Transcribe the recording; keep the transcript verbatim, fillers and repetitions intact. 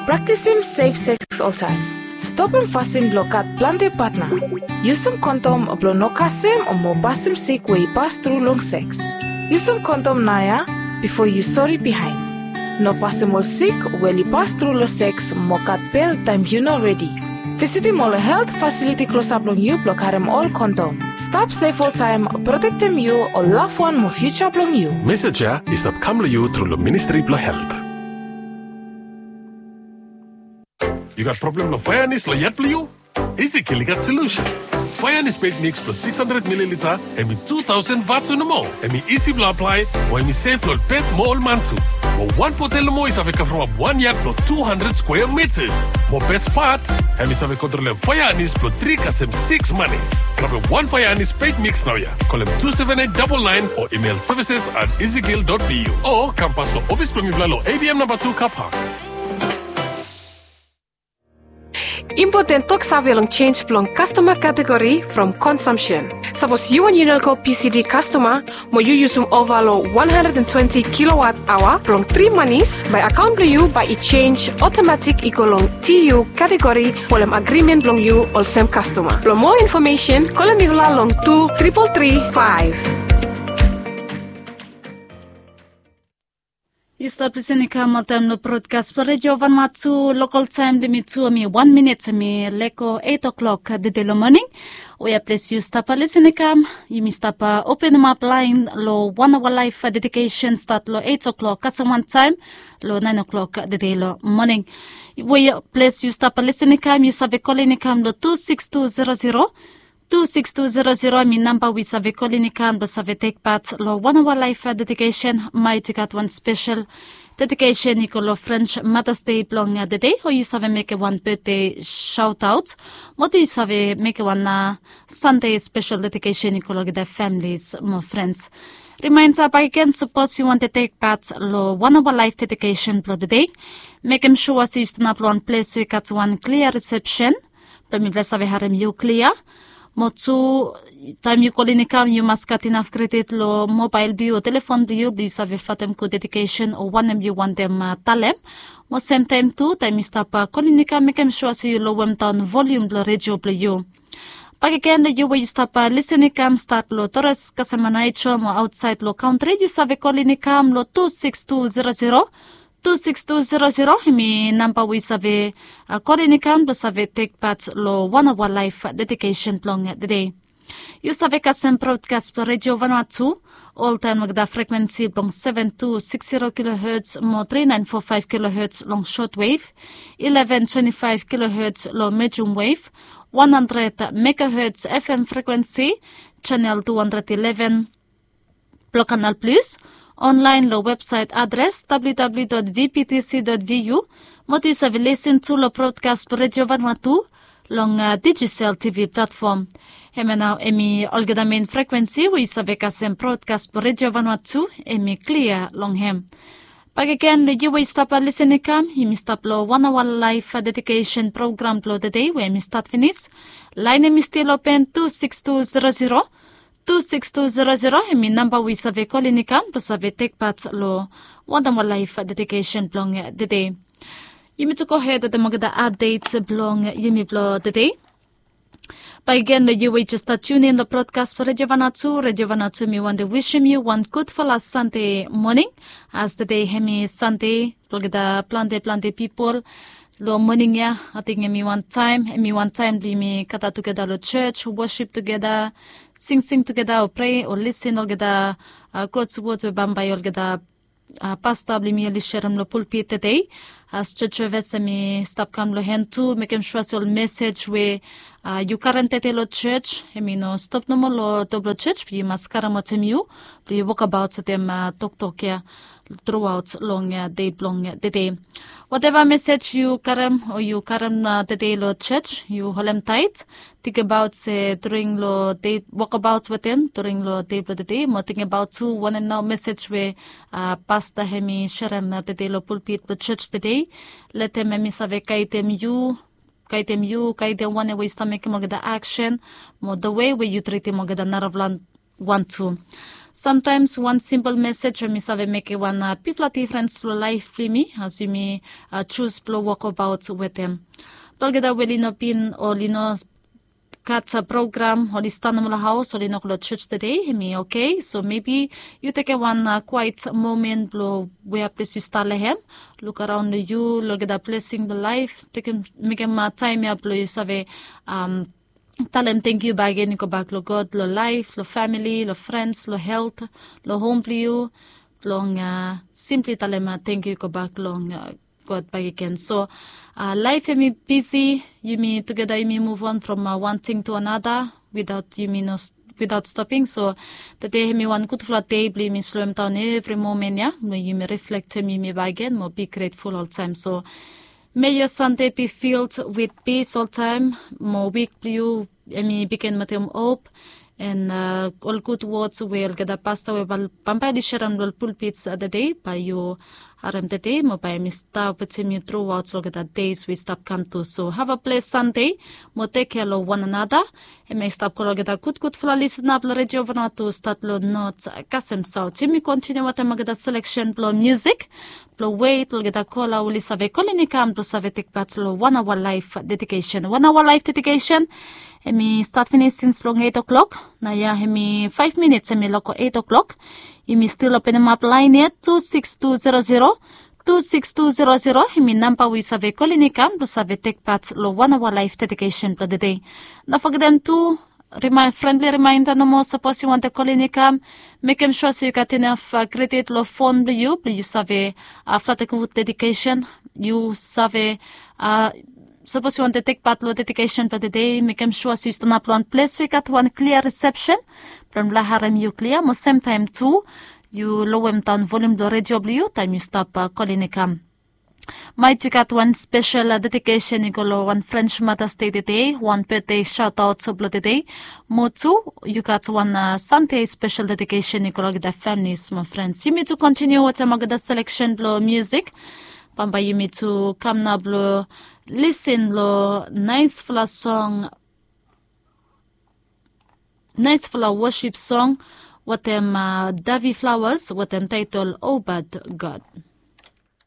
Praktisim sef seks oltaem. Stopim fasin blong gat plante patna. Yusum kondom blong no kasem o mo pasim sik we i pas tru long seks. Yusum kondom naoia bifo yu sori bihaen. No pasim ol sik we oli pas tru long seks mo gat bel taem yu no redi. Visitim ol helt fasiliti klosap long yu blong karem ol kondom. Stap sef oltaem, protektem yu, ol lafwan mo fiuja blong yu. Mesej ya i stap kam long yu tru long Ministri blong Helt. Yu gat problem long faeanis long yat blong yu? Easy Kill i gat solusen. Faeanis peit miks blong six hundred mililita, hem i two thousand vatu nomo. Hem i isi blong aplae, mo hem i sef long ol pet mo ol man tu. Mo wan botel nomo i save kavremap wan yat blong two hundred skwea mitas. Mo bes pat, hem i save kontrolem faeanis blong tri kasem six manis. Grabem wan faeanis peit miks naoia. Kolem two seven eight double nine o email services at easykill dot vu. O kam pas long ofis blong mifala long A D M namba tu Car Park. Impoten toksave long jenis blong kastoma kategori from konsumsen. Sapos yu wan Unelco P C D kastoma, mo yu yusum ova long one hundred and twenty kilowatt aoa blong tri manis, bae akaon blong yu bae i jenis otomatik i go long T U kategori folem agrimen blong yu olsem kastoma. Blong moa infomesen, kolem mifala long two triple three five. Yu stap lisin i kam oltaem long brodkas blong Redio Vanuatu. Lokol taem blong yumi tu hem i wan minit hem i lego eit oklok tede long moning. Wea ples yu stap lisin i kam, yumi stap openemap laen long Wan Aoa Laef dedikesen stat long eit oklok kasem wan taem long naen oklok tede long moning. Wea ples yu stap lisin i kam, yu save kolin i kam long two six two zero zero, two six two zero zero hem i namba we yu save kolin i kam blong save tek pat long Wan Aoa Laef dedikesen. Maet i gat wan spesel dedikesen i go long French Mothers Day blong tede, o yu save mekem wan betde saotaot, mo tu yu save mekem wan Sande spesel dedikesen i go long olgeta familis mo frens. Rimaenda bakegen, sapos yu wantem tek pat long Wan Aoa Laef dedikesen blong tede, mekem sua se yu stanap long wan ples we i gat wan klia risepsen blong mifala save harem yu klia. Mo tu, taem yu kolin i kam, yu mas gat inaf kredit long mobael blong yu o telefon blong yu blong yu save flatem gud dedikesen o wanem yu wantem talem. Mo semtaem tu, taem yu stap kolin i kam, mekem sua se yu lowemdaon volium blong redio blong yu. Bakegen long yu we yu stap lisin i kam stat long Torres kasem Aneityum o aotsaed long kantri, yu save kolin i kam long two six two zero zero, two six two zero zero hem i namba we yu save kolin i kam blong save tek pat long Wan Aoa Laef dedikesen blong tede. Yu save kasem brodkas blong Redio Vanuatu oltaem long olgeta frekwensi blong seven two six zero kilohertz mo three nine four five kilohertz long shortwave, eleven twenty-five kilohertz long medium wave, one hundred megahertz F M frekwensi, channel two hundred eleven blong Canal Plus, onlaen long websaet adres W W W dot V P T C dot V U, mo tu yu save lisin tu long brodkas blong Redio Vanuatu long Digicel T V platfom. Hemia nao hem i olgeta mein frekwensi we yu save kasem brodkas blong Redio Vanuatu, hem i klia long hem. Bakegen long yu we yu stap lisin i kam, yumi stap long Wan Aoa Laef dedikesen program blong tede we hem i stat finis. Laen hem i stil open, two six two zero zero, two six two zero zero hem i namba we yu save kolin i kam blong save tek pat long Wan Aoa Laef dedikesen blong tede. Yumi tu gohed wetem olgeta apdet blong yumi blong tede. Bakegen long yu we jes stap tiunin long brodkas blong Redio Vanuatu, Redio Vanuatu, mi wantem wisim yu wan gudfala Sande moning. As tede hem i Sande blong olgeta plante plante pipol long moning ya, ating hem i wan taem, hem i wan taem blong yumi gather tugeta long jos, wosip tugeta, singsing tugeta o prea o lisin olgeta God's word we bambae olgeta pasta blong yumi oli serem long pulpit tede. As jos sevis hem i stap kam long han tu, mekem sua se ol mesej we yu karem tede long jos hem i no stop nomo long top blong jos, be yu mas karem wetem yu blong yu wokabaot wetem toktok ya truaot long dei blong tede. Wateva mesej yu karem o yu karem tede long jos, yu holem taet. Tingbaot se during long dei, wokabaot wetem during long dei blong tede, mo tingbaot tu wanem nao mesej we pasta hem i serem tede long pulpit blong jos tede. Letem hem i save gaedem yu, gaedem yu, gaedem wanem we yu stap mekem olgeta aksen mo the way we yu tritim olgeta narafala wan tu. Samtaems wan simpol mesej em i save mekem wan bigfala difrens long laef blong yumi as yumi jus blong wokabaot wetem. Olgeta we oli no bin o oli no gat program, oli stap nomo long haos, oli no go long jos tede, em i oke. So mebi yu tekem wan kwaet momen blong wea ples yu stap long hem, luk araon long yu, long olgeta blesing blong laef, tekem, mekem taem ya blong yu save talem tangkiu bakegen i gobak long God, long laef, long famili, long frens, long helt, long hom blong yu, blong simpli talem tangkiu i gobak long God bakegen. So laef em i bisi, yumi tugeta yumi muv on from wan ting tu anata witaot yumi no witaot stoping. So tede em i wan gudfala dei blong yumi slowem daon evri momen ya mo yumi riflektem yumi bakegen mo bi gretful oltaem. So may your Sunday be filled with peace oltaem. Mo wik blong yu em i bigin wetem hop, and ol gud wods we olgeta pasta we bambae oli serem long pulpit tede bae yu harem tede mo bae em i stap wetem yu truaot olgeta deis we i stap kam tu. So have a blessed Sunday mo tek kea long wan anata. Em i stap go long olgeta gudgudfala lisin ap long redio Vanuatu stat long not kasem saot. Yumi kontiniu wetem olgeta seleksen blong musik blong wet olgeta kola oli save kolin i kam blong save tekpat long wan aoa laef dedikesen. Wan aoa laef dedikesen em i stat finis sins long eit o'klok. Naoia em i faef minits em i loko eit o'klok. Yumi stil openemap laen ya tu siks tu zero zero, tu siks tu zero zero em i namba we yu save kolin i kam blong save tekpat long wan aoa laef dedikesen blong tede. No fogetem tu, frendli rimaenda nomo, sapos yu wantem kolin i kam, mekem sua se yu gat inaf kredit long fon blong yu blong yu save flatekem wud dedikesen. Yu save sapos yu wantem tekpat long dedikesen blong tede, mekem sua se yu stanap long wan ples we i gat wan klia risepsen blong mifala harem yu klia mo semtaem tu yu lowem daon volium blong redio blong yu taem yu stap kolin i kam. Maet yu gat wan spesel dedikesen i go long wan frens matas dei tede, wan betde saotaot blong tede. Mo tu yu gat wan sande spesel dedikesen i go long olgeta familis mo frens. Yumi tu kontiniu wetem olgeta seleksen blong musik. Bambae yumi tu kam nao blong lisin long naesfala song, naesfala wosip song wetem Davi Flawas wetem taetol Obad God.